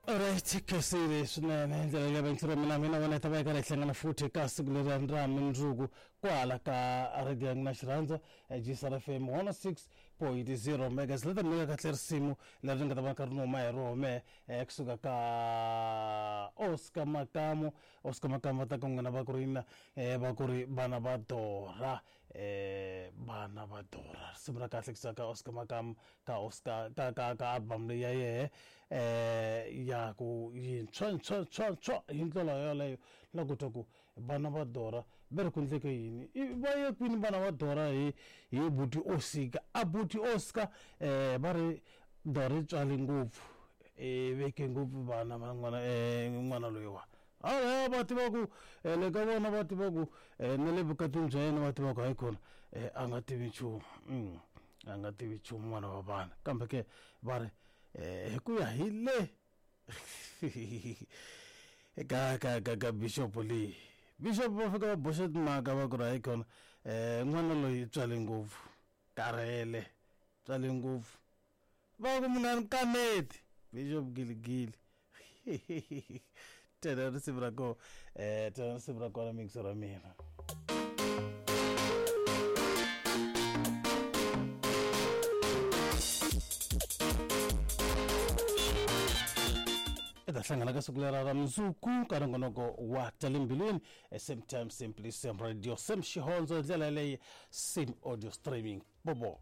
Alright, khensile swinene hi ndlela leyi vayingiseri va mina mina wena hi ta va hi karhi hi hlangana futhi eka siku leri ra mundzuku kwala ka radio ya n'wina xirhandza GSR FM 106.0 megas leta mi nyika kahle risimu leri ni nga ta va karhi ni huma hi roho mehe kusuka ka Oscar Makamu. Oscar Makamu va ta ka n'wina va ku ri yini va ku ri vana va Dora. Vana va Dora risimu ra kahle kusuka ka Oscar Makamu ka Oscar ka ka ka album leyi ya yehe ya ku yintshwa ntshwa ntshwa ntshwa hi ndlela yoleyo na ku twa ku vana va Dora va ri ku endleke yini i va ye kwini vana va Dora hi hi buti Oscar a buti Oscar va ri Dora yi tswale ngopfu i veke ngopfu vana va n'wana n'wana loyiwa. Hawa va tiva ku le ka vona va tiva ku na le vukatini bya yena va tiva ku hayikhona a nga tivi nchumu a nga tivi nchumu n'wana wa vanhu kambe ke va ri hi ku ya hi le ka ka ka ka bishop leyi bishop va fika va boxa timhaka va ku ri hayikhona n'wana loyi tswale ngopfu karhele tswale ngopfu va ku munhu a ni kaneti bishop giligili tena risimu ra kona tena risimu ra kona mixo ra mina. I ta hlangana ka siku lera ra mundzuku ka nongonoko wa ta le mbilwini same time same place same radio same xihondzo hi ndlela yaleyo same audio streaming boboe.